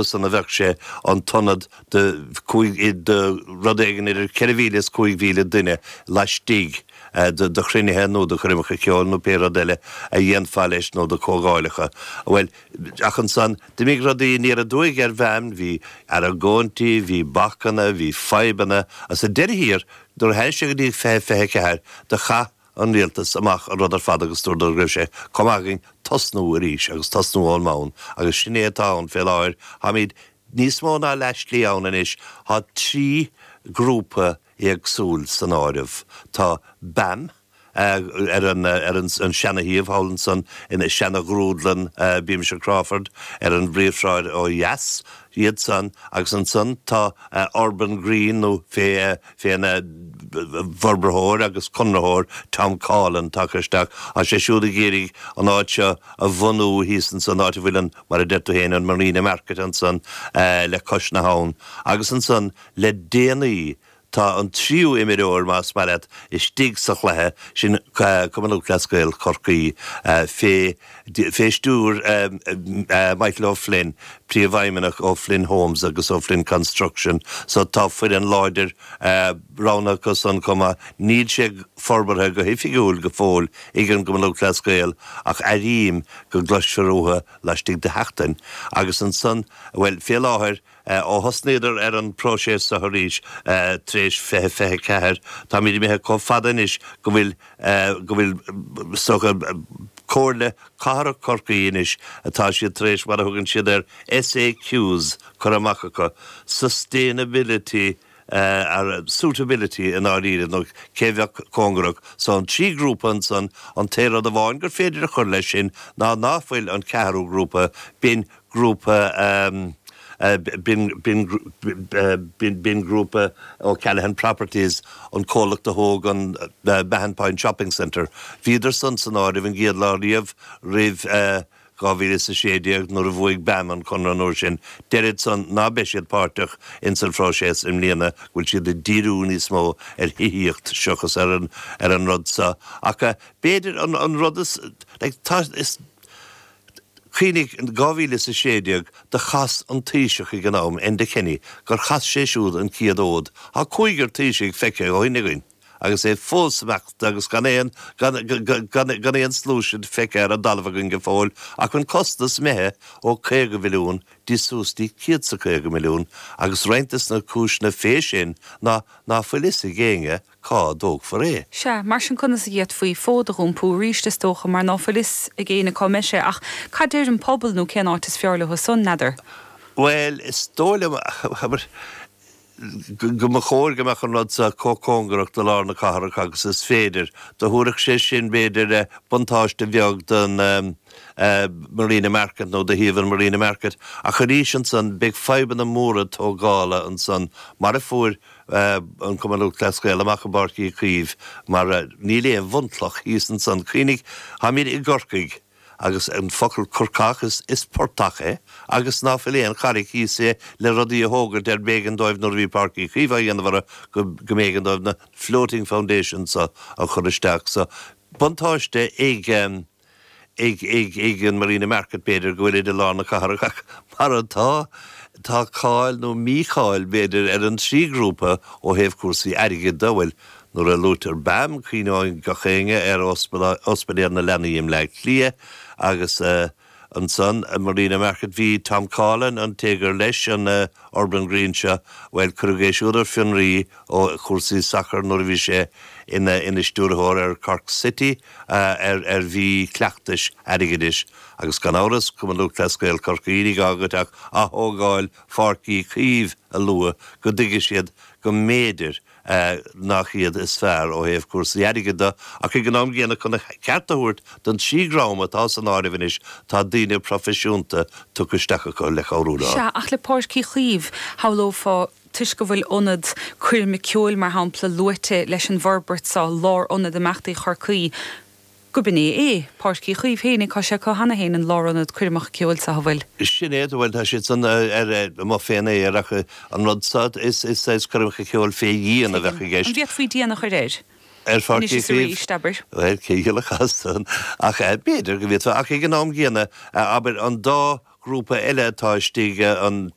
San a bheadh sé an t-ionad do do rud éigin idir 4,000 is 5,000 duine laistigh do chruinnithe nó do choirmeacha ceoil nó pé rud eile a dhéanfá leis nó do comhdháileacha. Bhuel, ach ansan, d'imigh rudaí aniar aduaidh ar BAM, bhí argóintí, bhí bacanna, bhí fadhbanna, agus sa deireadh thiar, nuair a tháinig sé go dtí 2024, do chaith an rialtas amach an rud ar fad agus dúradar go raibh sé chomh maith againn tosnú arís agus tosnú ón mbonn agus sin é atá ann fé láthair. Táimid níos mó ná leathshlí ann anois. Tá 3 grúpa éagsúil san áireamh. Tá BAM ar an ar an seana-shuíomh thall ansan ina seana-ghrúdlann Beamish Crawford ar an bPríomhshráid ó dheas, iad san agus ansan tá Urban Green nó fé féna bhforbraitheoir agus conraitheoir Tom Coughlan tagtha isteach. Tá sé siúd ag iarraidh an áit seo a bhunú thíos ansan, áit a bhfuil an, mar a deir tú féin, an Marina Market ansan le cois na habhann. Agus ansan le déanaí tá an tríú imreoir, más maith leat, istigh sa chluiche, sin Cumann Lúthchleas Gael Chorcaí fé Fé stiúir Michael O'Flynn, Príomhfheidhmeannach O'Flynn Homes agus O'Flynn Construction, so tá foireann láidir roghnaithe acu san chomh maith. Níl sé forbartha go hoifigiúil go fóill ag an gCumann Lúthchleas Gael ach airím go gcloisfear uathu laistigh de sheachtain. Agus ansan, bhuel, fé láthair, Ó thosnaíodar ar an bpróiseas seo arís tar éis 2024, táimid imithe chomh fada anois go bhfuil, go bhfuil, is dócha, Comhairle Cathrach Chorcaí anois, atá siad tar éis, mar a thugann siad air, SAQs curtha amach acu, Sustainability Suitability i ndáiríre, nó cé bheadh cóngarach. So an 3 grúpa ansan, an t-aon rud amháin gur féidir a chur leis sin ná ná fuil an ceathrú grúpa, b'in grúpa b'in b'in grúpa O'Callaghan Properties, an comhlacht a thóg an Mahon Point Shopping Centre. Bhíodar san san áireamh an gcéad lá riamh roimh 2016 nuair a bhuaigh BAM an conradh an uair sin. Deirid san ná beidh siad páirteach ins an phróiseas i mbliana, go bhfuil siad ag díriú níos mó ar thithíocht seachas ar an ar an rud seo. Ach b'fhéidir an an rud is like tá is Cuimhnigh, in 2016, do chas an Taoiseach ag an am, Enda Kenny, gur chas sé siúd an chéad fhód. Tá cúigear Taoisigh feicthe ó shin againn agus é fós imeacht agus gan aon, gan, gan, gan aon solution feicthe ar an dtalamh againn go fóill ach an costas imithe ó 50 mhilliún dtí suas dtí 150 milliún agus roinnt des na cúiseanna fé sin ná ná fuil fhios ag éinne cá dtógfar é. Sea, mar sin conas a d'fhéadfaí fód a dh'iompú arís, is dócha, mar ná fuil fhios ag éinne cá mbeidh sé. Ach cad deir an pobal nó cén áit is fearr leo san, n'fheadar? Bhuel, is dóigh liom, abair, go mba chóir go mbeadh an rud seo chomh cóngarach do lár na cathrach agus is féidir. Do thabharfadh sé sin, b'fhéidir, buntáiste bheag don Marina Market nó do shuíomh an Marina Market. Ach arís ansan, beidh fadhbanna móra tógála ansan, mar a fuair an Cumann Lúthchleas Gael amach i bPáirc Uí Chaoimh mar níl aon bhunchloch thíos ansan. Cuimhnigh, táimid i gCorcaigh agus an focal Corcach is is portach é agus ná fuil aon charraig thíos é le rudaí a thógailt ar b'éigean dóibh nuair a bhí Páirc Uí Chaoimh á dhéanamh orthu go go mb'éigean dóibh na floating foundations so a chur isteach. So buntáiste ag ag ag ag an Marina Market b'fhéidir go bhfuil i lár na cathrach ach mar atá tá cáil nó mícháil b'fhéidir ar an trí grúpa ó thaobh cúrsaí airgid de bhuel nuair a luaitear BAM cuimhneoidh gach éinne ar Ospidéal na Leanaí i mBleá Cliath agus ansan Marina Market bhí Tom Coughlan an té gur leis an Urban Green seo bhuel cuireadh é siúd ar fionraí ó chúrsaí sacair nuair a bhí sé ina ina stiúrthóir ar Cork City ar ar mhí-chleachtais airgeadais agus gan amhras, Cumann Lúthchleas Gael Chorcaí, ní gá duit ach ath-thógáil Pháirc Uí Chaoimh a lua go dtuigfidh siad go mb'fhéidir nach iad is fearr ó thaobh cúrsaí airgid de ach ag an am gcéanna chun a cheart a thabhairt don trí dhream atá san áireamh anois tá daoine proifisiúnta tugtha isteach acu le cabhrú leo. Sea, ach le Páirc Uí Chaoimh, shamhlófá toisc go bhfuil ionad coirme ceoil, mar shampla, luaite leis an bhforbairt seo, lárionad imeachtaí Chorcaí, go b'in é é, Páirc Uí Chaoimh féinig, tá sé acu cheana féin, an lárionad coirmeacha ceoil seo, an bhfuil? Sin é, bhuel, tá siad san ar amuigh fén aer ach an rud seo, is saghas coirmeacha ceoil fé dhíon a bheadh i gceist. An bhféadfaí díon a chur air? Ar Pháirc Anois Uí is Chaoimh? arís, abair. Bhuel, cé a dhíolfadh as san? Ach b'fhéidir go bhféadfá, ach ag an am gcéanna, abair, an dá. grúpa eile atá istigh, an.